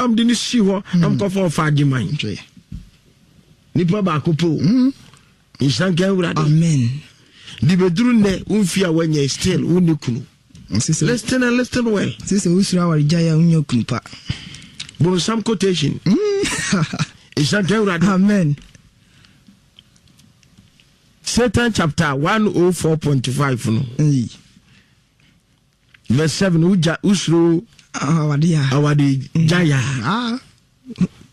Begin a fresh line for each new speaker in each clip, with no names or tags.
Am de ne si hɔ na mekɔfa ɔfa agyeman. Nipa baako pɛ o. Nhyira nka Awurade.
Amen.
De bɛduru nnɛ wo mfie a woanya still wonni kunu. Listen and listen well.
Sɛ sɛ wosuro awaregyae a wonya kunu pa.
Bonsam quotation. Nhyira nka Awurade.
Amen.
Satan chapter 104.5 no. Verse 7 wogya wosuro
awade a
awade gya ya ah.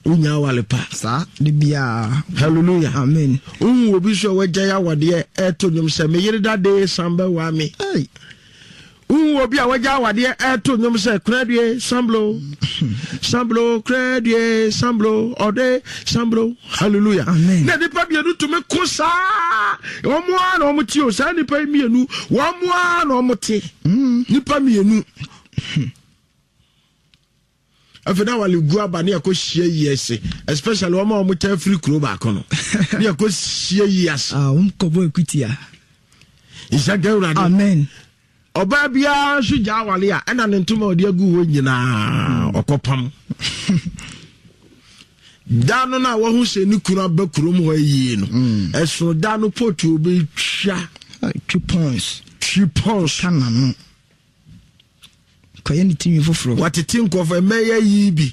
wonya awale pa
saa de biara.
Hallelujah.
Amen.
Wohu obi so a wagya yɛ awadeɛ ɛto nnwom sɛ me yere dade san bɛwaa me. Wohu obi a wagya awadeɛ ɛto nnwom sɛ koradue samblo samblo koradue samblo ɔde samblo. Hallelujah.
Amen.
Na nipa mmienu tumi ko saa wɔn ara na wɔn te o saa nipa yi mmienu wɔn ara na wɔn te nipa mmienu. Afei na wale gu aba ne yɛkɔ hyia yi ase especially wɔn a wɔn kyɛn firi kuro baako no ne yɛkɔ hyia yi ase.
Ah, wɔn kɔbɔ ekutia.
Nhyɛ nka Awurade.
Amen.
Ɔbaa biara nso gya awale a ɛna ne ntoma a ɔde agu hɔ nyinaa ɔkɔpam. Da no na wahu sɛ ne kunu aba kurom hɔ yie no mm. ɛsono da no pɔtu obɛtwa
twi pons
twi pons
ka n'ano kɔyɛ ne tirinwi foforɔ
watete nkɔfo ɛmɛyɛ yi bi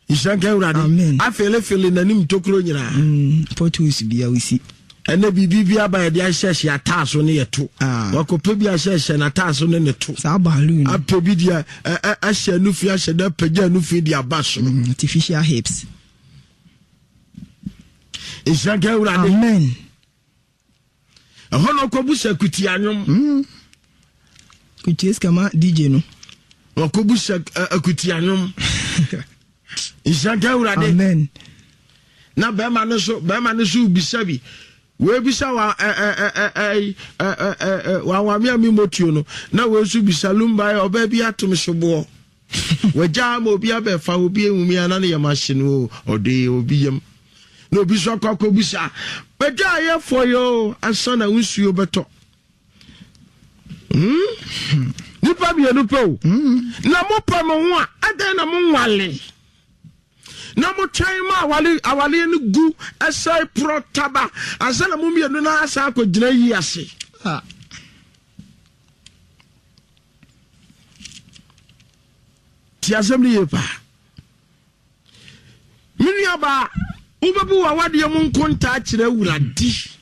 Nhyira nka Awurade.
Amen.
Afelefele n'anim tokuro nyinaa.
Mm, potholes bi a wosi.
Ɛnɛ biribi bi aba yɛde ahyehyɛ ataaso ne yɛto.
Ah.
Wakɔpɛ bi ahyehyɛ n'ataaso ne ne to.
Saa balloon.
Apɛ bi deɛ ahyɛ nufi ahyɛ dɛ apagya nufi de aba soro.
Mm, artificial hips.
Nhyira nka Awurade.
Amen.
Ɛhɔ na ɔkɔbu sɛ kutia nnwom.
Mm. Kutia sika ma DJ no.
Ɔkɔbu sɛ akutia nnwom. Nhyira nka Awurade.
Amen.
Na bɛrima no so bɛrima no so bisa bi. Wei bisa wa ɛ ɛ ɛ ɛ ɛ ɛ ɛ wawame a mi motuo no. Na wei nso bisa lumba yɛ ɔbaa bi atom soboɔ. Wagya ama obi abɛfa obi ehu mi ana ne yam ahye no o ɔde obi yam. Na obi nso akɔ akɔbisa bɛdwa ayɛ fɔ yɛ o ansa na nsuo bɛtɔ. Hmm? Nipa mmienu pɛ o. Hmm. Na mopɛ mo ho a adɛn na mo nwale? Na motwɛn ma awale awale no gu ɛsɛe porɔ taba ansa na mo mmienu no asan akɔgyina yi ase.
Ah.
Ti asɛm no yie paa. Me nuabaa, wobɛbu w'awadeɛ mu nkontaa kyerɛ Awurade.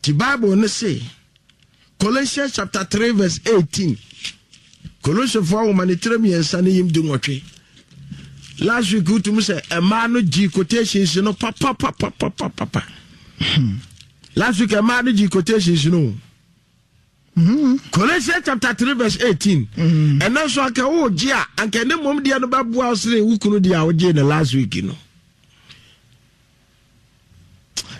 Ti Bible no se, Colossians chapter 3 verse 18. Kolosefo nwoma ne tire mmiɛnsa ne yim 18. Last week wotum sɛ mmaa no gye quotations no papapapapapa. Last week mmaa no gye quotations no. Colossians chapter 3 verse 18. Ɛnna nso anka wogye a anka ne mmom deɛ no bɛboa wo sene wo kunu deɛ a wogyee no last week no.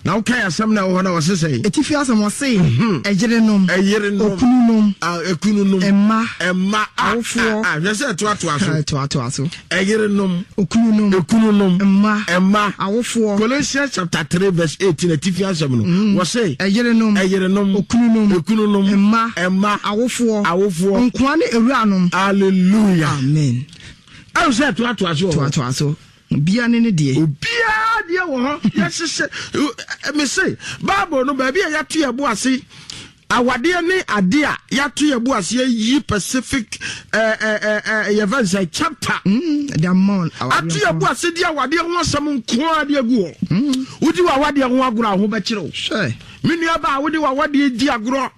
Na wokae asɛm na ɛwɔ hɔ na wɔse sɛn?
Atifi asɛm ɔse, mhm. ɛyerenom,
ɛyerenom,
okununom,
ekununom,
ɛmma,
ɛmma,
awofoɔ,
hwɛ sɛ ɛtoatoa so,
ɛtoatoa so,
ɛyerenom,
okununom,
ekununom,
mma,
ɛmma,
awofoɔ.
Colossians chapter 3 verse 18 atifi asɛm no, mm. wɔse,
ɛyerenom,
ɛyerenom,
okununom,
ekununom,
mma,
ɛmma,
awofoɔ,
awofoɔ,
nkoa ne awuranom.
Hallelujah.
Amen.
Ɛwɔ sɛ ɛtoatoa so.
Toatoa so. Obiara ne ne deɛ.
Obiara deɛ wɔ hɔ. Yɛhyehyɛ mese Bible no baabi a yɛato yɛn bo ase awadeɛ ne adeɛ a yɛato yɛn bo ase ayi Pacific yɛfɛ nsɛ chapter.
Mm,
ato yɛn bo ase de awadeɛ ho asɛm nko ara de agu hɔ. Mm. Wodi w'awadeɛ ho agorɔ a ho bɛkyerɛ wo. Me nua baa wode w'awadeɛ di agorɔ.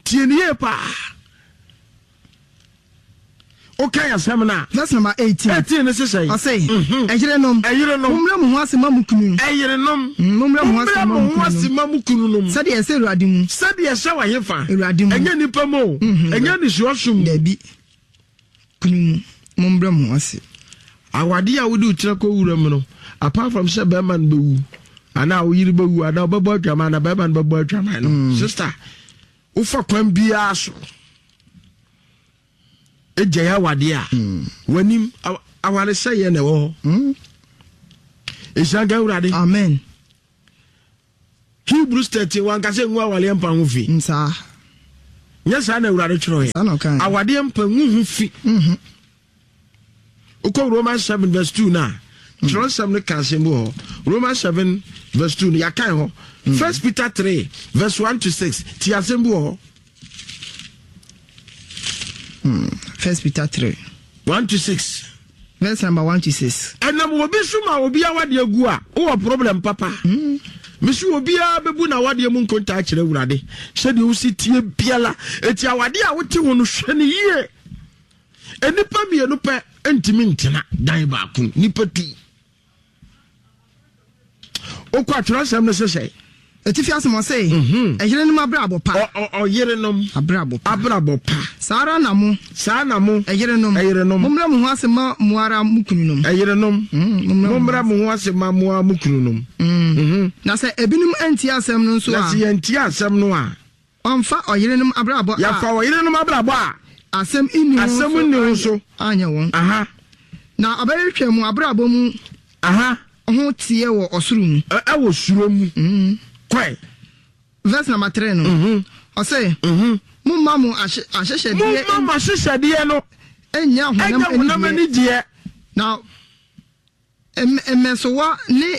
Tie no yie paa. Wokan asɛm no a.
Verse number 18.
18 no sesɛ.
Ɔse, mhm. ɛyerenom.
Ɛyerenom.
Mommrɛ mo ho ase ma mo kunu.
Ɛyerenom.
Mm, mommrɛ mo ho
ase ma mo kununom.
Sɛdeɛ ɛsɛ Awurade mu.
Sɛdeɛ ɛsɛ wɔ hefa.
Awurade mu.
Ɛnyɛ nipa mu o.
Mhm.
Ɛnyɛ nisuaso mu.
Dabi. Kunu mu. Mommrɛ mo ho ase.
Awadeɛ a wode wo tiri akɔ wura mu no, apart from sɛ bɛrima no bɛwu anaa wo yere bɛwu anaa wobɛbɔ adwaman anaa bɛrima no bɛbɔ adwaman no, mm. sister, wofa kwan biara so gyae awadeɛ a mm. w'anim awaresɛeɛ na ɛwɔ hɔ.
Mm.
Nhyira nka Awurade.
Amen.
Hebrews 13 wanka sɛ ngu awareɛ mpa ho fi.
Nsaa.
Nyɛ saa na Awurade twerɛeɛ.
Saa na ɔkaeɛ.
Awadeɛ mpa ngu ho fi.
Mhm.
Wokɔ Romans 7 verse 2 no a, twerɛnsɛm no ka asɛm bi wɔ hɔ. Romans 7 verse 2 no, yɛakan hɔ. First Peter 3 verse 1 to 6, ti asɛm bi wɔ hɔ.
First Peter 3.
1 to 6.
Verse number 1 to 6.
Ɛnam obi so ma obi awadeɛ gu a, wowɔ problem papa. Mm. Mesi obiara bɛbu n'awadeɛ mu nkontaa kyerɛ Awurade sɛdeɛ wosi tie biara. Eti awadeɛ a wote ho no hwɛ no yie. Nnipa mmienu pɛ ntumi ntena dan baako, nnipa tu. Wokɔ atwerɛsɛm no sesɛ.
Atifi asɛm ɔse, mhm. ɛyerenom abrabɔ pa.
Ɔyerenom
abrabɔ pa.
Abrabɔ pa.
Saa ara na mo.
Saa na mo.
Ɛyerenom.
Ɛyerenom.
Mommrɛ mo ho ase ma mo ara mo kununom.
Ɛyerenom. Mm, mommrɛ mo ho ase ma mo ara mo kununom.
Mm. Mhm. Na sɛ ebinom antie asɛm no nso a.
Na sɛ yɛntie asɛm no a.
Wɔmfa ɔyerenom abrabɔ a.
Yɛfa ɔyerenom abrabɔ a.
Asɛm nni ho
so. Asɛm nni ho so.
Anyɛ wɔn.
Aha.
Na ɔbɛhwehwɛ mo abrabɔ mu.
Aha.
Ho teɛ wɔ ɔsoro mu.
Ɛwɔ suro mu.
Mm.
Kɔe.
Verse number 3 no.
Mm-hmm.
Ɔsɛ.
Mm-hmm.
Momma mo ahyehyɛdeɛ.
Momma mo ahyehyɛdeɛ no.
Ɛnyɛ
honam anigyeɛ.
Na Mmɛsowa ne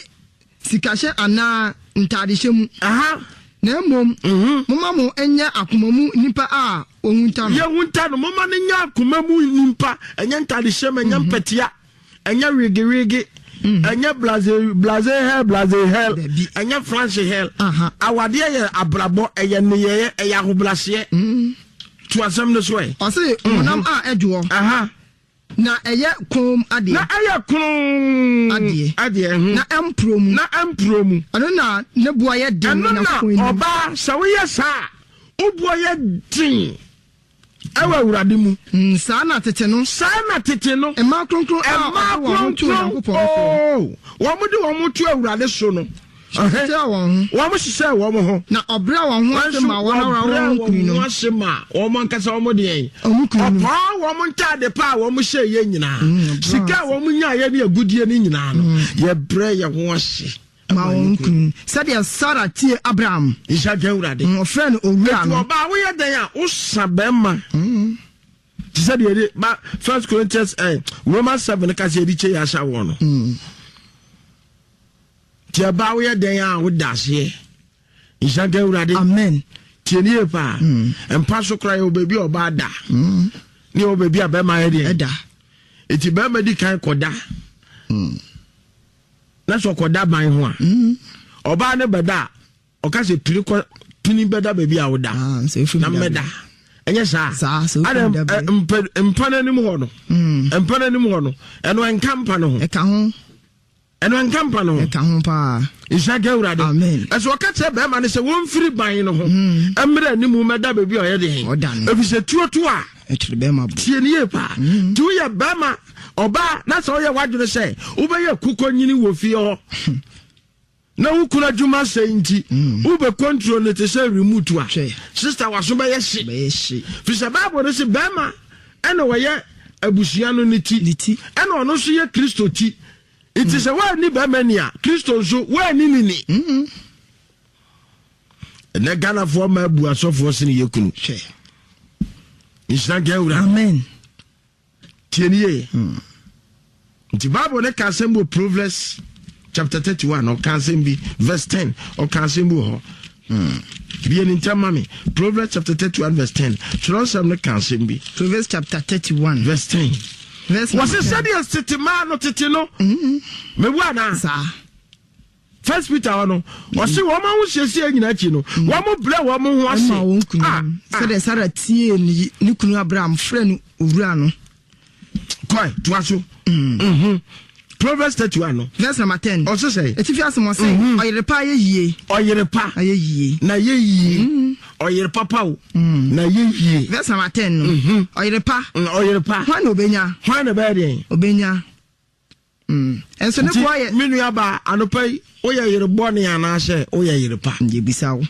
sikahyɛ anaa ntadehyɛ mu. Na mmom momma mo nyɛ akoma mu nnipa a wɔhunta no.
Yɛhunta no, momma no nyɛ akoma mu nnipa, ɛnyɛ ntadehyɛ mu, ɛnyɛ mpɛtea, ɛnyɛ wegewege, ɛnyɛ blaze blaze hell blaze hell, ɛnyɛ France hell. Awadeɛ yɛ abrabɔ, ɛyɛ nneyɛeɛ, ɛyɛ ahobraseɛ. To asɛm no so ɛ.
Ɔse honam a ɛdwoɔ. Na ɛyɛ komm adeɛ.
Na ɛyɛ kronn
adeɛ.
Adeɛ, mhm.
Na ɛmporɔ mu.
Na ɛmporɔ mu.
Ɛno na ne boɔ yɛ den wɔ
Ɛno na
Nyankopɔn anim.
ɔbaa, sɛ woyɛ saa a, wo boɔ yɛ den ɛwɔ Awurade mu.
Mm, saa na tete no.
Saa na tete no.
Mmaa kronkron a
Mmaa
wɔde wɔn ho too
kronkron,
Nyankopɔn soɔ.
oo, wɔn de wɔn ho to Awurade so no.
Hyehyɛɛ wɔn
ho. Wɔn hyehyɛɛ wɔn ho.
Na ɔbrɛɛ wɔn ho ase maa wɔn ara wɔn
kununom. Wɔbrɛɛ wɔn ho ase maa wɔn ankasa wɔn deɛn.
Wɔn kununom.
Ɔpaa wɔn ntaade pa a wɔn hyɛ yɛ nyinaa. Mm, Sika a wɔn nyaeɛ ne agudie no nyinaa no. Mm. Yɛbrɛ yɛn ho ase.
Ma wɔn kunu. Sɛdeɛ Sara tie Abraham.
Nhyira nka Awurade.
Mm, ɔfrɛ no owura no.
Etu ɔbaa woyɛ dɛn a wosa bɛrima. Te sɛ deɛ yɛde ba First Corinthians eh, Romans 7 ka sɛ yɛde kyɛ yɛ ahyɛ wɔn no. Nti ɛbaa woyɛ dɛn a woda aseɛ. Nhyira nka Awurade.
Amen.
Tie ne yie paa. Mm. Mpa so koraa yɛwɔ baabi a ɔbaa da.
Mm.
Ne yɛwɔ baabi a bɛrima yɛ deɛ.
Ɛda.
Nti bɛrima di kan kɔda.
Mm.
Na sɛ ɔkɔda ban ho a.
Mm.
Ɔbaa ne bɛda a ɔka sɛ pini kɔ pini bɛda baabi a woda.
Ah,
na mmɛda. Ɛnyɛ saa.
Ada
mpa no anim hɔ no.
Mm.
Mpa no anim hɔ no. Ɛno ɛnka mpa no ho.
Ɛka ho.
Ɛno ɛnka mpa no ho.
Ɛka ho paa.
Nhyira nka Awurade.
Amen.
Ɛsɛ ɔka kyerɛ bɛrima no sɛ wɔmfiri ban no ho.
Mm.
Mmerɛ anim mɛda baabi a ɔyɛ deɛ.
Ɔda no.
Ɛfiri sɛ tuo to a.
Ɛkyerɛ bɛrima bo.
Tie ne yie paa.
Mm.
Nti woyɛ bɛrima ɔbaa na sɛ woyɛ w'adwene sɛ wobɛyɛ kukɔ nyini wɔ fie hɔ. Na wo kunu adwuma sɛe nti
mm.
wobɛ control no te sɛ remote a. Sister waso bɛyɛ hye.
Bɛyɛ hye.
Firi sɛ Bible no se bɛrima ɛna wɔyɛ abusua no ne ti.
Ne ti.
Ɛna ɔno nso yɛ Kristo ti. Nti sɛ woanni bɛrima ni a, Kristo nso woanni ne ni. Ɛnɛ Ghanafoɔ ma abu asɔfoɔ sene yɛ kunu.
Hwɛ.
Nhyira nka Awurade.
Amen.
Tie ne yie. Nti Bible ne ka asɛm bi wɔ Proverbs chapter 31 ɔka asɛm bi verse 10 ɔka asɛm bi wɔ hɔ. Bie ne ntɛm ma me. Proverbs chapter 31 verse 10. Twerɛnsɛm no ka asɛm bi.
Proverbs chapter 31
verse 10.
Verse
Wɔse sɛdeɛ tete maa no tete no. Mebu anaa?
Saa.
First Peter hɔ no, ɔse wɔn ahosiesie nyinaa akyi no, wɔn brɛ wɔn ho ase.
Ɛma wɔn kunu.
Ah, ah.
Sɛdeɛ Sara tiee ne kunu Abraham frɛ no owura no.
Kɔe, toa so. Mm-hmm. Proverbs 31 no.
Verse number 10.
Ɔse sɛ.
Etifi asɛm ɔse,
mm-hmm.
ɔyere pa ayɛ yie.
Ɔyere pa.
Ayɛ yie.
Na yɛ yie.
Mm-hmm.
Ɔyere papa o. Mm. Na yɛ yie.
Verse number 10 no.
Mm-hmm.
Ɔyere pa.
Ɔyere pa.
Hwan na obenya?
Hwan na ɛbɛyɛ deɛn?
Obenya. Mm. Nso ne boɔ yɛ.
Me nua baa anɔpa yi woyɛ yere bɔne anaasɛ woyɛ yere pa?
Yɛbisa wo.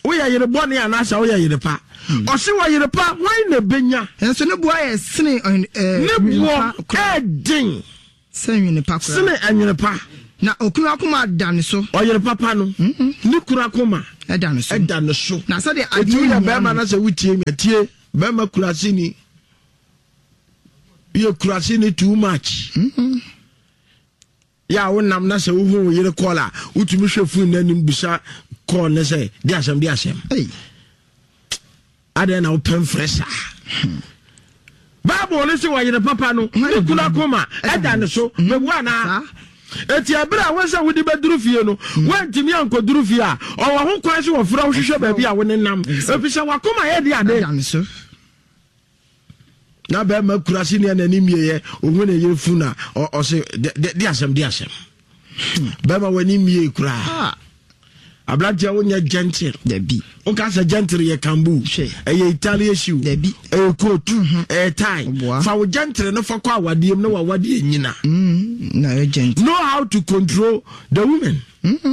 Woyɛ yere bɔne anaasɛ woyɛ yere pa?
Hmm.
Ɔse wɔ yere pa hwan na ebenya?
Nso ne boɔ yɛ sene
Ne boɔ ɛɛden.
Sɛ nwene pa koraa.
Sene nwene pa.
Na okunu akoma da ne so.
Ɔyere papa no, ne kunu akoma
ɛda ne so.
Ɛda ne so.
Na sɛdeɛ adeɛ
Eti woyɛ
hia
bɛrima
no.
na sɛ wotie mi a, tie, bɛrima kuraseni. Woyɛ kuraseni too much. Yɛ a wonam na sɛ wohu wo yere kɔɔl a, wotumi hwɛ fon no anim bisa kɔɔl no sɛ, de asɛm de asɛm. Adɛn na wopɛ mfrɛ saa? Bible no sɛ wɔyere papa no, ne kunu akoma ɛda ne so. Hmm. Mebu anaa? Eti ɛberɛ a wɔn sɛ wode bɛduru fie no, hmm. woantumi ankɔduru fie a, ɔwɔ ho kwan sɛ wɔfrɛ wo hwehwɛ baabi a wo ne nam. Ɛfiri sɛ wakoma yɛ de ade. Na bɛrima kura se nea n'ani mmieɛ ohun ne yere fun na ɔse de asɛm de asɛm bɛrima w'ani mmie koraa ah. Aberanteɛ wonyɛ gentle.
Dabi.
Woka sɛ gentle yɛ kambu. Ɛyɛ Italian shoe.
Dabi.
Ɛyɛ coat. Mhm. Ɛyɛ tie. Fa wo gentle no fa kɔ awadeɛ mu na wawadeɛ nyina.
Mm, na ɛyɛ gentle.
Know how to control the women. Mm-hmm.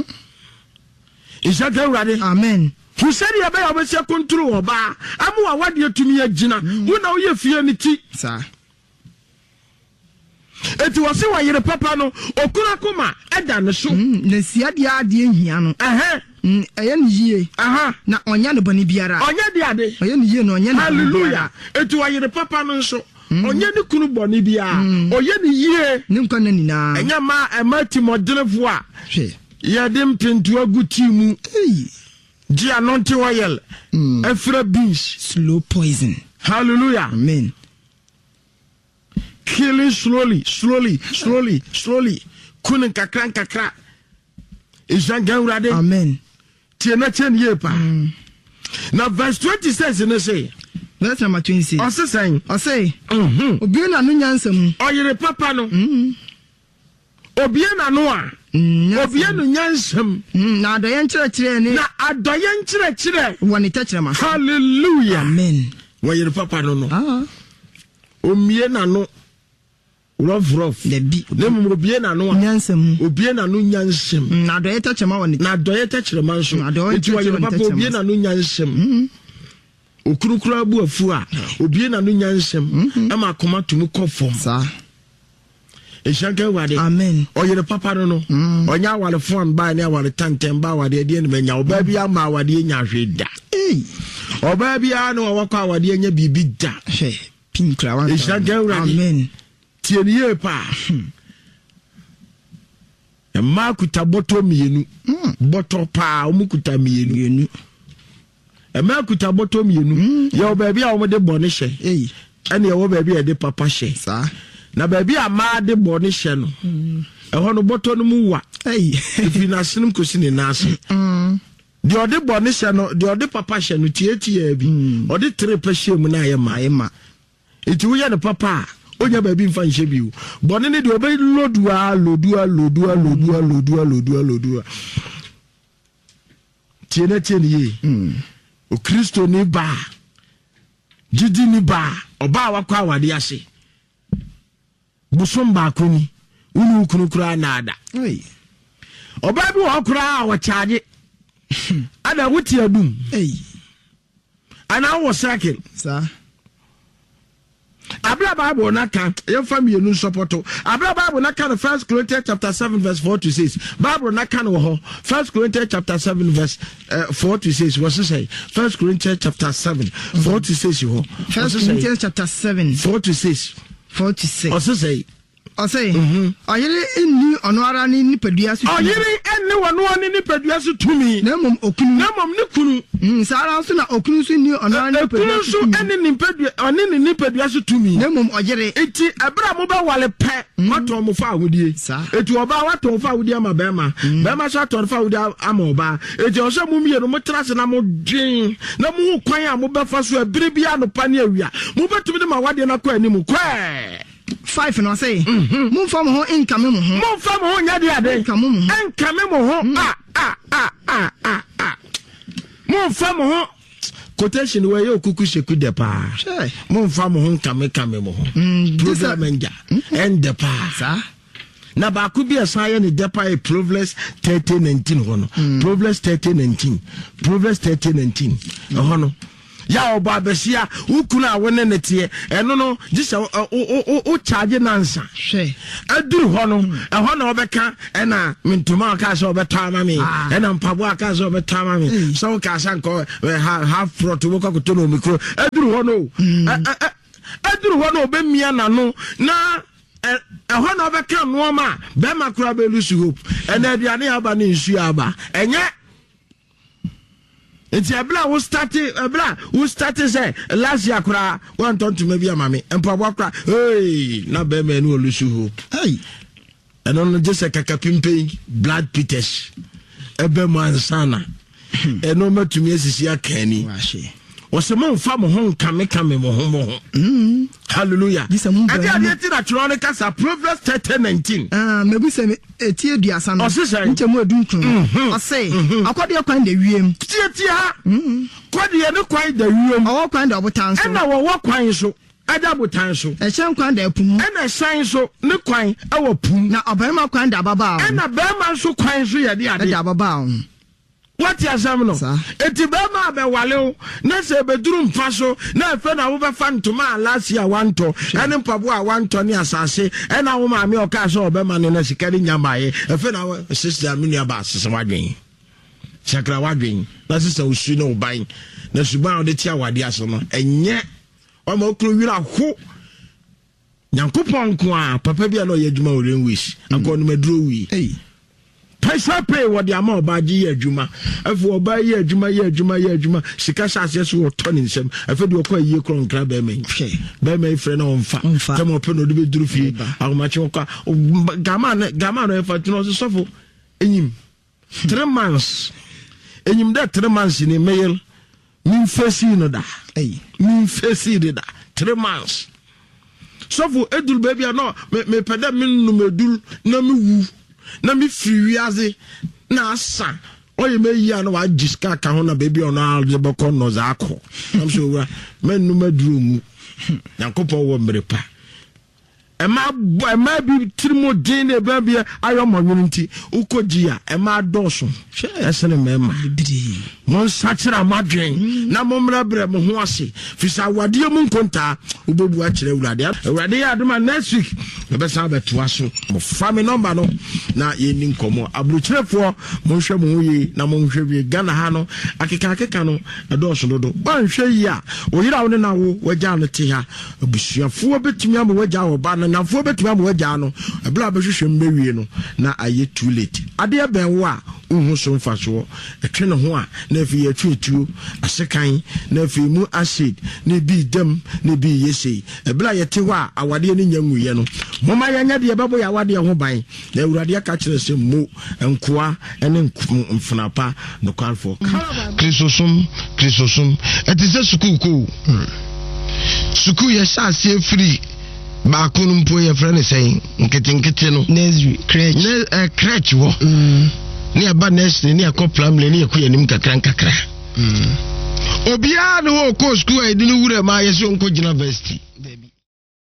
Nhyira nka Awurade.
Amen.
Hu sɛdeɛ ɛbɛyɛ a wobɛsi akontro ɔbaa ama w'awadeɛ tumi agyina. Mm. Wo na woyɛ fie no ti.
Saa.
Eti wɔse wɔyere papa no, okunu akoma ɛda ne so.
Mm, na si adeɛ adeɛ nhia no.
Ɛhɛn.
Mm, ɛyɛ no yie.
Aha.
Na ɔnyɛ no bɔne biara.
Ɔnyɛ de ade.
Ɔyɛ no yie na ɔnyɛ no bɔne biara.
Hallelujah. Eti ɔyere papa no nso, mm. ɔnyɛ ne kunu bɔne biara. Mm. Ɔyɛ no yie.
Ne nkwa nna nyinaa.
Ɛnyɛ mmaa ɛma timɔdenfoɔ a.
Hwɛ.
Yɛde mpentoa gu tea mu. Gye anointing oil. Ɛfira beans.
Slow poison.
Hallelujah.
Amen.
Killing slowly, slowly, slowly, slowly. Kunu nkakra nkakra. Nhyira nka Awurade.
Amen.
Tie na tie no yie paa. Mm. Na verse 26 no se.
Verse number 26.
Ɔse sɛn?
Ɔse. Mm-hmm. Obue n'ano nyansa mu.
Ɔyere papa no. Mm. Obue n'ano a, obue no nyansam.
Na adɔeɛ nkyerɛkyerɛ ne.
Na adɔeɛ nkyerɛkyerɛ.
Wɔ ne tɛkyerɛma
so. Hallelujah.
Amen.
Wɔyere papa no no. Ah. Omie n'ano rough rough.
Dabi.
Na mmom obue n'ano a.
Nyansam.
Obue n'ano nyansam.
Na adɔeɛ tɛkyerɛma wɔ ne.
Na adɔeɛ tɛkyerɛma nso. Nti wɔyere papa obue n'ano nyansam. Okunu koraa bu afu a, obue n'ano nyansam ma akoma tumi kɔ fam.
Saa.
Nhyira nka Awurade.
Amen.
Ɔyere papa no no. Mm. Ɔnyɛ aware fon baa ne aware tɛntɛn ba awadeɛ deɛ ne manya. Ɔbaa bi ama awadeɛ nya hwee da. Ɔbaa biara ne wɔwɔ kɔ awadeɛ nya biribi da.
Hwɛ pin kura wa.
Nhyira nka Awurade.
Amen.
Tie ne yie paa. Hmm. Mmaa kuta bɔtɔ mmienu. Hmm. Bɔtɔ paa wɔn kuta mmienu. Mmaa kuta bɔtɔ mmienu. Mm. Yɛwɔ baabi a wɔde bɔne hyɛ. Ɛne ɛwɔ baabi a yɛde papa hyɛ. Na baabi a mmaa de bɔne hyɛ no, mm. ɛhɔ no bɔtɔ no mu wa. Ɛfiri n'asenem kɔsi ne nan ase. Mm. Deɛ ɔde bɔne hyɛ no, deɛ ɔde papa hyɛ no tiatiaa bi. Ɔde tere pɛ hyɛ mu na ayɛ ma.
Ayɛ ma.
Nti woyɛ no papa a, onya baabi mfa nhyɛ bio. Bɔne no deɛ ɔbɛ lodu a, lodu a, lodu a, lodu a, lodu a, lodu a, lodu a. Tie na tie no yie. Mm. Okristoni baa, gyidini baa, ɔbaa wakɔ awade ase. Bosom baako ni, wo ne wo kunu koraa naada. Ɔbaa bi wɔ hɔ koraa a ɔkyaagye. Ada wote adum. Anaa wowɔ circle.
Saa.
Abere Bible na ka, yɛmfa mmienu nsɔpɔto. Abere Bible na ka no First Corinthians chapter 7 verse 4 to 6. Bible na ka no wɔ hɔ. First Corinthians chapter 7 verse 4 to 6. Wɔ sesɛ First Corinthians chapter 7 4 to 6 hɔ.
First Corinthians chapter 7
4 to 6.
4 to 6.
Ɔsesɛ
Ɔse, Ɔyere nni ɔno ara ne nipadua so tumi.
Ɔyere nni ɔno ara ne nipadua so tumi.
Na mmom okunu.
Na mmom ne kunu.
Mm, saa ara nso na okunu nso nni ɔno ara ne nipadua so tumi.
Okunu nso nni ne nipadua, ɔne ne nipadua so tumi.
Na mmom ɔyere.
Enti ɛberɛ a mobɛwale pɛ, mm. moatɔn mo fa ahodie.
Saa.
Enti ɔbaa watɔn fa ahodie ama bɛrima. Mm. Bɛrima nso atɔn fa ahodie ama ɔbaa. Enti ɛwɔ sɛ mo mmienu motra ase na modwen na mohu kwan a mobɛfa so ɛberɛ bi anɔpa ne awia. Mobɛtumi de ma awadeɛ no akɔ anim kɔɛ.
5 na ɔse, Momfa mo ho nkame mo ho.
Momfa mo ho nyɛ de ade.
Nkame mo ho.
Nkame mo ho. Mm. A a a a a a. Momfa mo ho. Quotation wɔ yɛ okuku seku dɛ paa. Momfa mo ho nkame kame mo ho. Mm, Program ngya. Ɛndɛ paa.
Saa.
Na baako bi a ɛsan yɛ ne dɛ paa yɛ Proverbs 30:19 hɔ no. Mm. Proverbs 30:19. Proverbs 30:19. Ɛhɔ no. Yɛ a ɔbɔ abasia, wo kunu a wo ne no teɛ, ɛno no, gye sɛ wo charge nansa.
Hwɛ.
Aduru hɔ no, ɛhɔ na ɔbɛka ɛna me ntoma a ɔkaa sɛ ɔbɛtɔ ama me,
Ah.
ɛna mpaboa a ɔkaa sɛ ɔbɛtɔ ama me, sɛ wokaa sɛ nkɔ half plot wobɛkɔ akɔtɔ no omikuro. Aduru hɔ no, aduru hɔ no ɔbɛmia n'ano na ɛhɔ na ɔbɛka nnoɔma a bɛrima koraa bɛ lose hope. Ɛna aduane aba ne nsuo aba. Ɛnyɛ Nti ɛberɛ a wo starte ɛberɛ a wo starte sɛ last year koraa wantɔ ntoma bi ama me mpaboa koraa hey na bɛrima ɛne olusu hope.
Hey.
Ɛno no gye sɛ kakapimpɛn blood peters ɛbɛ mu ansana ɛno mɛtumi asisi aka ani. Wɔsɛ momfa mo ho nkamekame mo ho mo ho.
Mm.
Hallelujah. Ɛde adeɛ ti na twerɛ no kasa Proverbs 30:19.
Ah, mebu sɛ eti aduasa no.
Ɔse sɛn?
Nkyɛmu edunkron.
Mhm.
Ɔse, akɔdeɛ kwan da wiem.
Tietie ha. Kɔdeɛ ne kwan da wiem.
Ɔwɔ kwan da ɔbotan so.
Ɛna wɔwɔ kwan so ɛda botan so.
Ɛhyɛn kwan da ɛpo mu.
Ɛna ɛhyɛn nso ne kwan ɛwɔ po mu.
Na ɔbarima kwan da ababaa ho.
Ɛna barima nso kwan nso yɛ de ade.
Ɛda ababaa ho.
Woate asɛm no?
Saa.
Enti bɛrima a bɛwale wo na sɛ ɛbɛduru mpa so na afei na wobɛfa ntoma a last year wantɔ ɛne mpaboa a wantɔ ne asase ɛna wo maame a ɔkaa sɛ ɔbɛma no na sika no nya mmaeɛ afei na wo sister me nua baa sesa w'adwen sakra w'adwen na sesa wo su ne wo ban na suban a wode te awadeɛ ase no ɛnyɛ wama wo kunu werɛ aho. Nyankopɔn nko a papa bi a na ɔyɛ adwuma wɔ railways mm. anka ɔnom aduro wui. Pɛsɛ pay wɔde ama ɔbaa gye yɛ adwuma afei ɔbaa yɛ adwuma yɛ adwuma yɛ adwuma sika hyɛ aseɛ so wɔtɔ ne nsam afei deɛ ɔkɔ ayie korɔ nkra bɛrima yi bɛrima yi frɛ na ɔmfa tɛm ɔpɛ na ɔde bɛduru fie ahomakye ɔkɔ gama no gama no ɛfa tena ɔsɛ sɔfo enyim 3 months enyim dɛ 3 months ni meyel memfesi no da memfesi de da 3 months sɔfo eduru baabi a na mepɛ dɛ mennom edur na mewu na mefiri wiase na asa ɔyɛ me ayi a na wagye sika aka ho na baabi a ɔno ara de bɛkɔ no dza akɔ nam sɛ owura mɛnnom aduru nwu. Nyankopɔn wɔ mmere pa. Ɛma ɛmaa bi tiri mu den na ɛbɛn bi ayɛ ɔmɔ nwene nti wokɔ gyi a ɛmaa dɔɔso ɛsene mmarima. Monsakyera mo adwen mm. na mommrɛbrɛ mo ho ase firi sɛ awadeɛ mu nkontaa wobɛbu akyerɛ Awurade. Awurade yɛ adom a next week yɛbɛsan abɛtoa so. Mofa me nɔmba no na yɛnni nkɔmmɔ. Aburokyerefoɔ monhwɛ mo ho yie na monhwɛ wie. Ghana ha no akeka akeka no ɛdɔɔso dodo. Woanhwɛ yie a wo yere a wo ne no awo wagyaa no te ha. Abusuafoɔ bɛtumi ama wagyaa wɔ ba no, nnamfoɔ bɛtumi ama wagyaa no, ɛberɛ a bɛhwehwɛ mu bɛwie no na ayɛ too late. Adeɛ bɛn wo a wonhu so mfasoɔ, ɛtwe ne ho a na afei yɛtwe atuo, asekan, na afei mu acid, na ebi reda mu, na ebi reyɛ sei. Ɛberɛ a yɛte hɔ a awadeɛ no nnya nwuiɛ no, momma yɛnyɛ deɛ ɛbɛbɔ yɛn awadeɛ ho ban. Na Awurade aka kyerɛ sɛ, Mo, nkoa ne mfenaa pa nokwarefoɔ. Kristosom, Kristosom, ɛte sɛ sukuu kɔ o. Sukuu yɛhyɛ aseɛ firi baako no mpo yɛfrɛ no sɛn nketenkete no.
Nursery, crèche.
Ne, eh, crèche hɔ. Ne yɛba nursery ne yɛkɔ primary ne yɛkɔ yɛn anim kakra nkakra. Obiara ne hɔ ɔkɔɔ sukuu a yɛde no wura mu a yɛsɛ ɔnkɔ gyina varsity.
Dabi.